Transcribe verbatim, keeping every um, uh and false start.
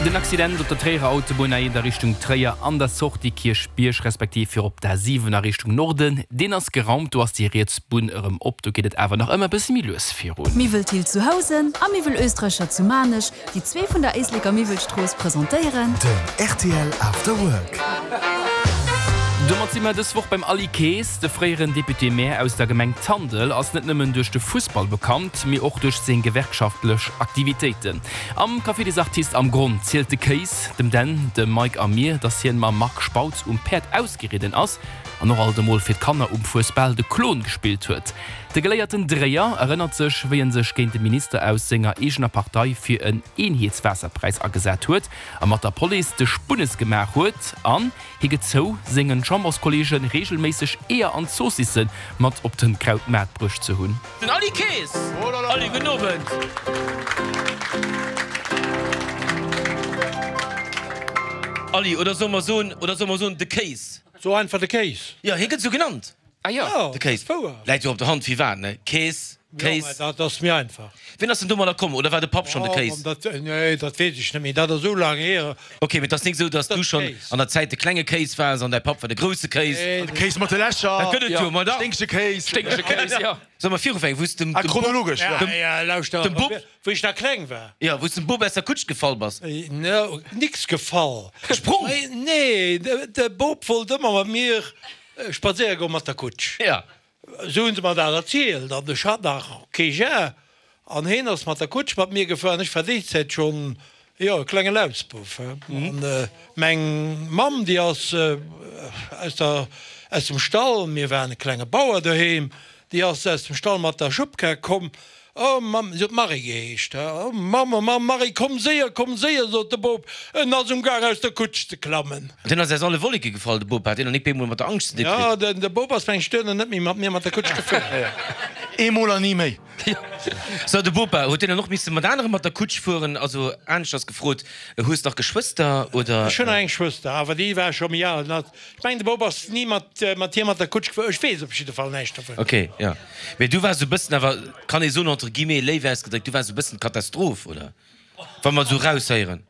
Den Accident op der Tréierer Autobunn A eent a Richtung Tréier an der Sortie Kierchbierg respektiv fir op der A siwen a Richtung Norden, deen ass geraumt. Do ass déi riets Bunn erëm op. Do geet et awer nach ëmmer e bësse méi lues virun. Miwwel Thill zu Housen a Miwwel Oestreicher zu Maarnech, déi zwee vun der Éisleker Miwwelstrooss presentéieren. Den rtl After Work. Domat si mer dës Woch beim Aly Kaes. De fréieren Député-Maire aus der Gemeng Tandel ass net nëmmen duerch de Fussball bekannt, mee och duerch seng gewerkschaftlech Aktivitéiten. Am Café des Artistes am Gronn zielt de Kaes dem Dan, dem Mike a mir, dass hien mam Marc Spautz um Päerd ausgeridden ass an och alt emol fir d'Kanner um Fuesbal de Klon gespillt huet. De geléierten Dréier erënnert sech, wéi en sech géint de Minister aus senger eegener Partei fir en Eenheetswaasserpräis agesat huet a mat der Police de Spunnes gemaach huet. An hie gëtt zou, sengen Chamberskolleege reegelméisseg Eeër an Zoossisse mat op de Krautmaart bruecht ze hunn. Den Aly Kaes! Aly, gudden Owend! Aly, oder solle mer soen, oder solle mer soen de Kéis? So einfach de Kéis. Jo, hie gëtt esou genannt. Ah jo, de Kéis. Läit jo op der Hand, firwat, ne? Kees, Kéis. Jo, mä dat ass méi einfach. Wien ass denn domadder komm? Oder war de Papp schonn de Kéis? Dat, nee, dat weess ech net méi. Dat ass esou laang hier. Ok, mee et ass nik esou, dass du schonn an der Zäit de klenge Kéis waars an däi Papp war de grousse Kéis. Nee. De Kéis mat de Lächer. Dat gëtt et jo, ma da. Sténkege Kéis. Sténkege Kéis, jo. Solle mer virufänken, wou s dem, Ah, dem Bub, chronologesch, jo. dem, Ja, lauschter, dem Bub. wéi ech nach kleng war. Jo, wou s dem Bub aus der Kutsch gefall bass. No, nix gefall. Gesprong? Nee, de Bub wollt ëmmer mat mir spadséiere goen mat der Kutsch. Ja. Esou hunn se mer dat erzielt. An ech hat nach kee Jar. An heen ass mat der Kutsch mat mir gefuer. An ech war déi Zäit schonn, jo, e klenge Lausbouf. An meng Mamm, déi ass aus der, aus dem Stall, mir waren e klenge Bauer doheem, déi ass aus dem Stall mat der Schubkar komm. Oh Mamm, si huet Marie geheescht, oh Mamm, oh Mamm, Marie, komm séier, komm séier, sot de Bop, en ass um Gaang aus der Kutsch ze klammen. Deen ass aus alle Wolleke gefall, de Bop, hat deen nach nik bemol mat der Angscht ze di Jo, kritt? de Bop ass meng ech duerno net méi mat mir mat der Kutsch gefuer. Eemol an ni méi. So, de Bopa, huet deen dann och misse mat anere mat der Kutsch fueren? Also aneschters gefrot, hues nach Geschwëster, oder? Ech hunn nach eng Schwëster, awer déi war scho méi al. Ech mengen, de Bop ass ni mat hir mat der Kutsch gefuer. Ech weess op jidde Fall näischt dovun. Ok, jo. Mee du waars esou e bëssen awer, kann ee soen, entre guillemets, léif ausgedréckt, du waars esou e bëssen d'Katastroph, oder? Wa mer esou raushéieren.